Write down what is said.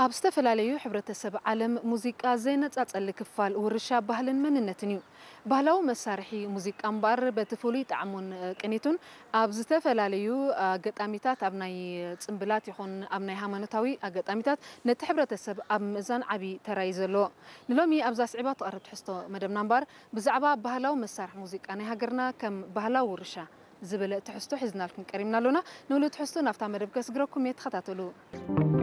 ኣብ ዝተፈላለዩ ሕብረተሰብ ዓለም ሙዚቃ ዘይነጻጸሊ ክፋል ውርሻ ባህልን መንነትን እዩ። ባህላዊ መሳርሒ ሙዚቃ እምበኣር በቲ ፍሉይ ጣዕሙን ቅኒቱን ኣብ ዝተፈላለዩ ኣጋጣሚታት፣ ኣብ ናይ ጽምብላት ይኹን ኣብ ናይ ሃይማኖታዊ ኣጋጣሚታት ነቲ ሕብረተሰብ ኣብ ምእዛን ዓቢ ተራ እዩ ዘለዎ። ንሎሚ ኣብዛ ስዒባ ትቐርብ ትሕዝቶ መደብና እምበኣር ብዛዕባ ባህላዊ መሳርሒ ሙዚቃ ናይ ሃገርና ከም ባህላዊ ውርሻ ዝብል ትሕዝቶ ሒዝናልኩም ቀሪብና ኣሎና። ንብሉ ትሕዝቶ ናብታ መደብ ከስግረኩም እየ፣ ተኸታተሉ።